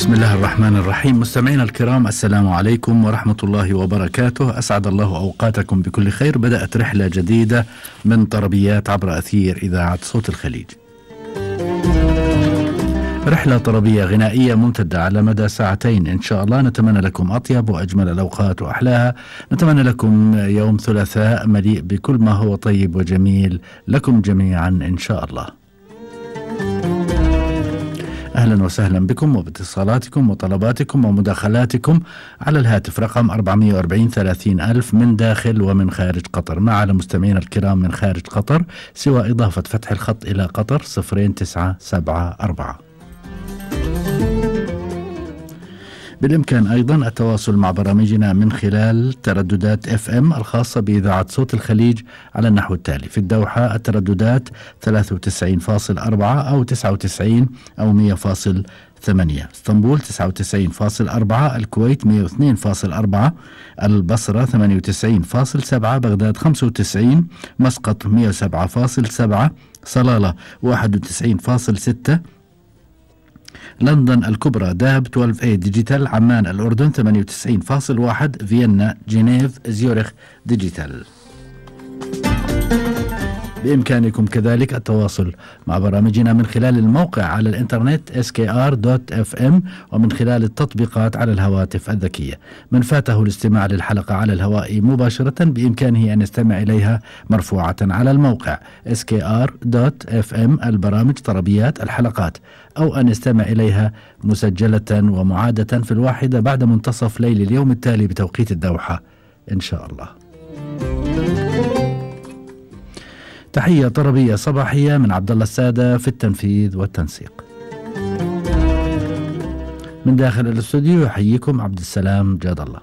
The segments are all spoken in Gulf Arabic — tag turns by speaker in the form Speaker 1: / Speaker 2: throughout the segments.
Speaker 1: بسم الله الرحمن الرحيم. مستمعينا الكرام، السلام عليكم ورحمة الله وبركاته. أسعد الله أوقاتكم بكل خير. بدأت رحلة جديدة من طربيات عبر أثير إذاعة صوت الخليج. رحلة طربية غنائية ممتدة على مدى ساعتين إن شاء الله. نتمنى لكم أطيب وأجمل الأوقات وأحلاها. نتمنى لكم يوم ثلاثاء مليء بكل ما هو طيب وجميل لكم جميعا إن شاء الله. أهلا وسهلا بكم وباتصالاتكم وطلباتكم ومداخلاتكم على الهاتف رقم 440 30,000 من داخل ومن خارج قطر. مع على مستمعينا الكرام من خارج قطر سوى إضافة فتح الخط إلى قطر 0974. بالإمكان أيضا التواصل مع برامجنا من خلال ترددات FM الخاصة بإذاعة صوت الخليج على النحو التالي: في الدوحة الترددات 93.4 أو 99 أو 100.8، اسطنبول 99.4، الكويت 102.4، البصرة 98.7، بغداد 95، مسقط 107.7، صلالة 91.6، لندن الكبرى داب 12A ديجيتال، عمان الأردن 98.1، فيينا جنيف زيورخ ديجيتال. بإمكانكم كذلك التواصل مع برامجنا من خلال الموقع على الإنترنت skr.fm ومن خلال التطبيقات على الهواتف الذكية. من فاته الاستماع للحلقة على الهواء مباشرة بإمكانه أن يستمع إليها مرفوعة على الموقع skr.fm البرامج طربيات الحلقات، أو أن يستمع إليها مسجلة ومعادة في الواحدة بعد منتصف ليل اليوم التالي بتوقيت الدوحة إن شاء الله. تحية طربية صباحية من عبد الله السادة في التنفيذ والتنسيق. من داخل الاستوديو يحييكم عبد السلام جاد الله.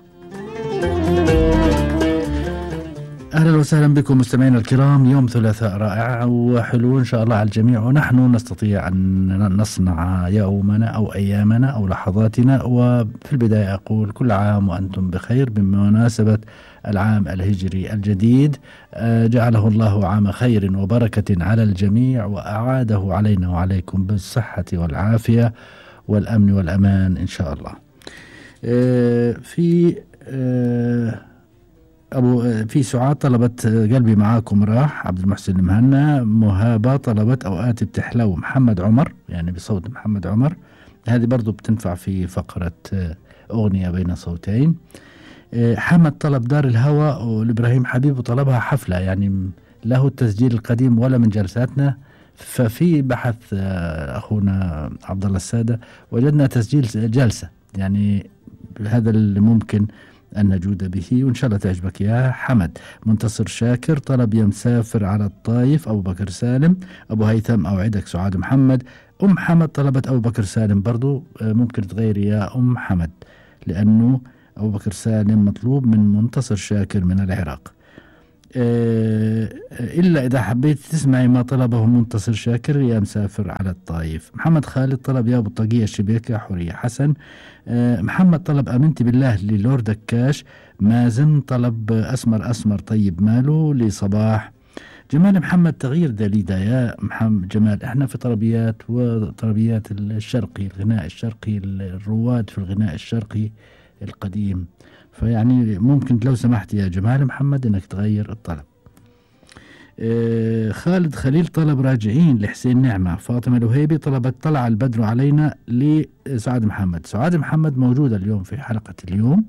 Speaker 1: أهلا وسهلا بكم مستمعينا الكرام. يوم ثلاثاء رائع وحلو إن شاء الله على الجميع، ونحن نستطيع أن نصنع يومنا أو أيامنا أو لحظاتنا. وفي البداية أقول كل عام وأنتم بخير بمناسبة العام الهجري الجديد، جعله الله عام خير وبركة على الجميع، وأعاده علينا وعليكم بالصحة والعافية والأمن والأمان إن شاء الله. في سعاد طلبت قلبي معاكم راح، عبد المحسن المهنا. مهابة طلبت أوقات بتحلو، محمد عمر يعني بصوت محمد عمر، هذه برضو بتنفع في فقرة أغنية بين صوتين. حمد طلب دار الهوى، والإبراهيم حبيب طلبها حفلة، يعني له التسجيل القديم ولا من جلساتنا. ففي بحث أخونا عبد الله السادة وجدنا تسجيل جلسة، يعني هذا اللي ممكن أن نجود به، وإن شاء الله تعجبك يا حمد. منتصر شاكر طلب يا مسافر على الطايف، أبو بكر سالم. أبو هيثم أوعدك سعاد محمد. أم حمد طلبت أبو بكر سالم برضو، ممكن تغيري يا أم حمد لأنه أبو بكر سالم مطلوب من منتصر شاكر من العراق. إلا إذا حبيت تسمعي ما طلبه منتصر شاكر يا مسافر على الطايف. محمد خالد طلب يا أبو الطاقية الشبيكة. حورية حسن. محمد طلب أمنتي بالله للورد دكاش. مازن طلب أسمر أسمر طيب ماله لصباح. جمال محمد تغيير دليدا يا محمد جمال. احنا في طربيات وطربيات الشرقي، الغناء الشرقي، الرواد في الغناء الشرقي القديم، فيعني ممكن لو سمحت يا جمال محمد انك تغير الطلب. خالد خليل طلب راجعين لحسين نعمة. فاطمة الوهيبي طلبت طلع البدر علينا لسعاد محمد. سعاد محمد موجودة اليوم في حلقة اليوم،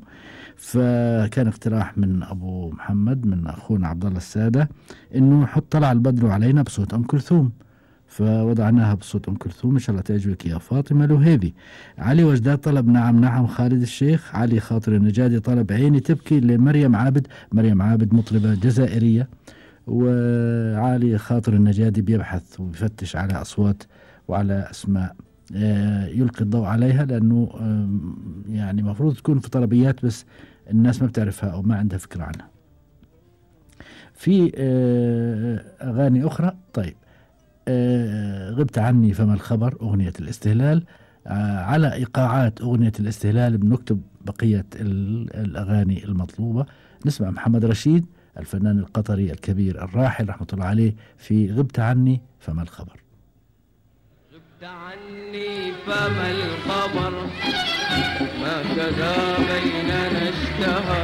Speaker 1: فكان اقتراح من أبو محمد من أخونا عبد الله السادة إنه حط طلع البدر علينا بصوت أم كلثوم، فوضعناها بصوت أم كلثوم. إن شاء الله تعجبك يا فاطمة الوهيبي. علي وجداد طلب نعم نعم خالد الشيخ. علي خاطر النجادي طلب عيني تبكي لمريم عابد. مريم عابد مطربة جزائرية، وعلي خاطر النجادي بيبحث وبيفتش على أصوات وعلى أسماء يلقي الضوء عليها، لأنه يعني مفروض تكون في طلبيات بس الناس ما بتعرفها أو ما عندها فكرة عنها. في أغاني أخرى. طيب، غبت عني فما الخبر أغنية الاستهلال. على إيقاعات أغنية الاستهلال بنكتب بقية الأغاني المطلوبة. نسمع محمد رشيد الفنان القطري الكبير الراحل رحمة الله عليه في غبت عني فما الخبر.
Speaker 2: غبت عني فما الخبر هكذا بيننا اشتهى